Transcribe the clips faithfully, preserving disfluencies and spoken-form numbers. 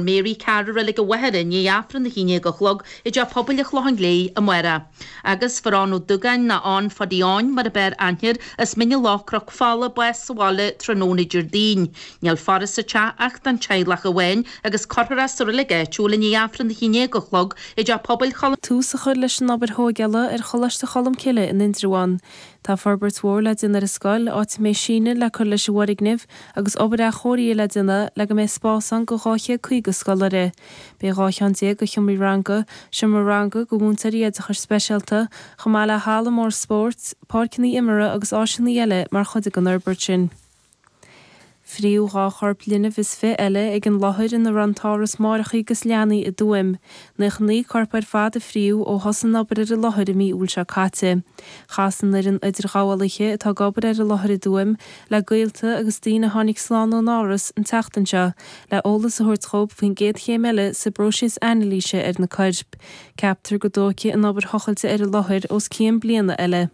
Mary Carr i Reilig an Mhachaire i ndiaidh Aifreann a haon déag a chlog i dTeach Pobail an Chlocháin Léith amárach. Agus fuair Eoin Ó Dúgáin nó Eoin Phadaí Eoin mar ab fhearr aithne air as Mín an Loch Cnoc Fola bás sa bhaile tráthnóna Déardaoin. Níl faire sa teach ach don teaghlach amháin agus cuirfear é sa reilig áitiúil i ndiaidh Aifreann a haon déag a chlog i dTeach Pobail Cholm Tús a chur leis an obair thógála ar Choláiste Cholmcille in Indreabhán. Tá forbairt mhór le déanamh ar an scoil, áit a mbeidh síneadh le cur leis an bhfoirgneamh agus obair athchóirithe le déanamh le go mbeidh spás ann do dhá chéad caoga scoláire. Beidh dhá cheann déag de sheomraí ranga, seomra ranga do mhúinteoirí oideachais speisialta, chomh maith le halla mór spóirt, páirceanna imeartha agus áiseanna eile mar chuid den fhorbairt sin. Fríodh dhá chorp linbh is fiche eile ag an láthair ina raibh an t-áras máithreacha agus leanaí i dTuaim. Nócha naoi corp ar fad a fríodh ó thosaigh an obair ar an láthair i mí Iúil seo caite. Chas an fhoireann idirghabhálaithe atá ag obair ar an láthair i dTuaim le gaolta agus daoine a tháinig slán ón áras an tseachtain seo le eolas a thabhairt dóibh faoin gcéad chéim eile sa bpróiseas anailíse ar na coirp. Ceaptar go dtógfaidh an obair thochailte ar an láthair os cionn bliana eile.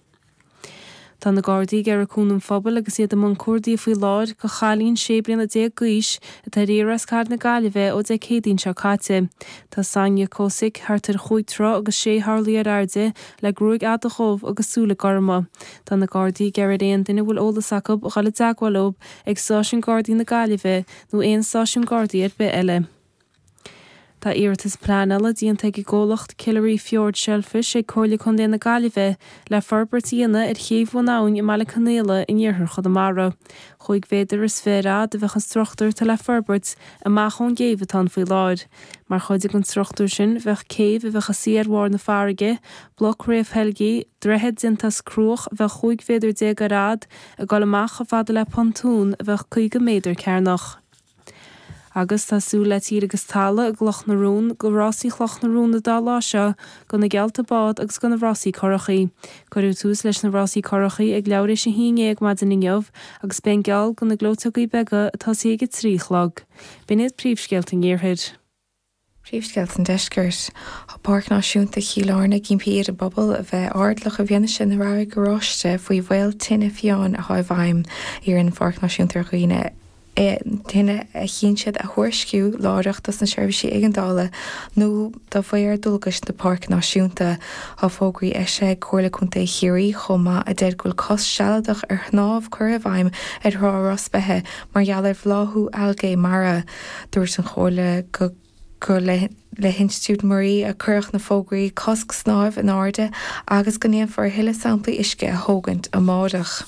Tá na Gardaí ag iarraidh cúnamh an phobail agus iad i mbun cuardaigh faoi láthair do chailín sé bliana déag d'aois atá ar iarraidh as cathair na Gaillimhe ó Dé Céadaoin seo caite. Tá Sonia Kosick thart ar chúig troigh agus sé horlaí ar airde le gruaig fhada dhubh agus súile gorma. Tá na Gardaí ag iarraidh ar aon duine a bhfuil eolas acu dhul i dteagmháil leo ag Stáisiún Gardaí na Gaillimhe nó aon stáisiún Gardaí ar bith eile. Tá iarratas pleanála déanta ag an gcomhlacht Killary Fjord Shellfish ag Comhairle Contae na Gaillimhe le forbairt a dhéanamh ar chéibh Bhun Abhainn i mBaile Conaola in iarthar Chonamara. Chúig mhéadar is fiche ar fhad a bheadh an struchtúr atá le forbairt amach ón gcéibh atá ann faoi láthair. Mar chuid den struchtúr sin bheadh céibh a bheadh ina suí ar bharr na farraige, bloc réamhtheilgthe, droichead déanta as cruach a bheadh chúig mhéadar déag ar fhad, ag dul amach chomh fada le pontún a bheadh caoga méadar cearnach. Agus tá súil le tír agus talamh i gCloch na Rón do rásaí Chloch na Rón an dá lá seo, do na geallta bád agus do na rásaí curachaí. Cuireadh tús leis na rásaí curachaí ag leathuair théis a haon déag maidin inniu agus beidh an geall do na gleoiteogaí beaga ag tosaí ag a trí a chlog. B'in iad príomhscéalta an iarthair. Príomhscéalta an Deiscirt. Tá Páirc Náisiúnta Chill Airne ag impí ar an bpobal a bheith airdeallach i bhfianaise na rabhaidh oráiste faoi bhaol tine fiáin atá i bhfeidhm. Iarrann an Pháirc Náisiúnta ar dhaoine tine a chíonn siad a thuairisciú láithreach dos na seirbhísí éigeandála nó do mhaor dualgais na Páirce Náisiúnta. Tá fógraí eisithe ag Comhairle Contae Chiarraí chomh maith a deir go bhfuil cosc sealadach ar shnámh curtha i bhfeidhm ar Thrá Ros Beithe mar gheall ar bhláthú algae mara. Dúirt an Chomhairle go gur le le hInstitiúid Muirí a cuireadh na fógraí cosc snáimh in airde agus go ndéanfar a thuilleadh samplaí uisce a thógaint amárach.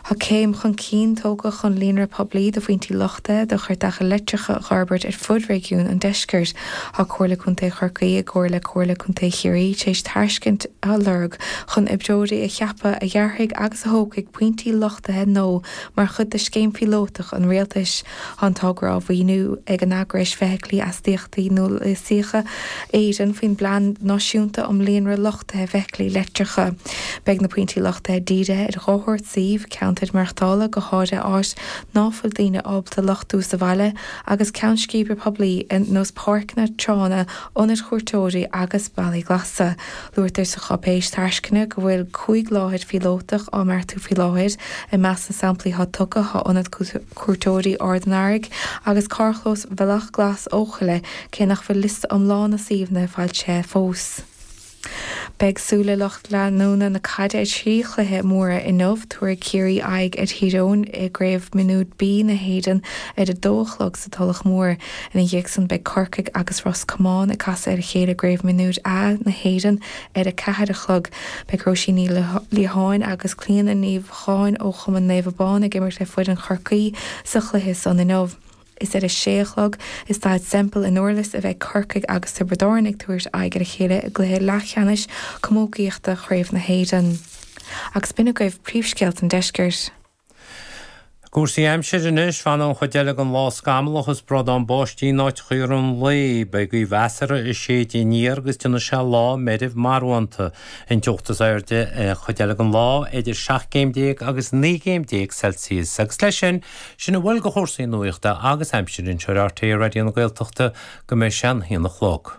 Tá céim chun cinn tógtha chun líonra poiblí de phointí luchtaithe do chairteacha leictreacha a fhorbairt ar fud réigiún an Deiscirt. Tá Comhairle Contae Chorcaí i gcomhar le Comhairle Contae Chiarraí tar éis tairiscint a lorg chun oibreoirí a cheapadh a dhearfaidh agus a thógfaidh pointí luchtaithe nua mar chuid de scéim phíolótach an rialtais. Tá an togra á mhaoiniú ag an Eagrais Feithiclí Astaíochtaí Nialasacha Éireann faoin bPlean Náisiúnta um Líonra Luchtaithe Feithiclí Leictreacha. Beidh na pointí luchtaithe dírithe ar dhá shórt suímh, ceantair maireachtála, go háirithe áit ná fuil daoine ábalta luchtú sa bhaile, agus ceann scríbe poiblí ar nós páirceanna, tránna, ionaid chuairteoirí agus bealaí glasa. Luaitear sa cháipéis tairisceana go bhfuil cúig láthair phíolótach á mbeartú faoi láthair. I measc na samplaí atá tugtha tá Ionad Cuairteoirí Ard an Earraigh agus Carrchlós Bhealach Glas Eochaille, cé nach bhfuil liosta iomlán na suíomhanna foilsithe fós. Beidh súile lucht leanúna na caide ar thrí chluiche móra inniu. Tabharfaidh Ciarraí aghaidh ar Thír Eoghain i gCraobh Mionúir B na hÉireann ar a dó a chlog sa Tulach Mhór. Ina dhiaidh san beidh Corcaigh agus Ros Comáin ag casadh ar a chéile i gCraobh Mionúir A na hÉireann ar a ceathair a chlog. Beidh Róisín Ní Liatháin agus Clíona Ní Mhocháin ó Chumann Naomh Abán ag imirt le foireann Chorcaí sa chluiche san inniu. Is ar a sé a chlog i Staid Semple i nDurlas a bheidh Corcaigh agus Tiobraid Árann ag tabhairt aghaidh ar a chéile i gcluiche leathcheannais camógaíochta Chraobh na hÉireann. Agus b'in agaibh príomhscéalta an deiscirt. Cúrsaí aimsire anois, fanfaidh an chuid eile den lá scamallach is bradán báistí in áiteacha i rith an lae. Beidh gaoth mheasartha ag séideadh aniar agus déanfaidh sé lá meirbh marbhánta. An teocht is airde an chuid eile den lá idir seacht gcéim déag agus naoi gcéim déag Celsius. Agus leis sin, sin a bhfuil de chúrsaí nuachta agus aimsire anseo ar RTÉ Raidió na Gaeltachta go mbeidh sé an haon a chlog.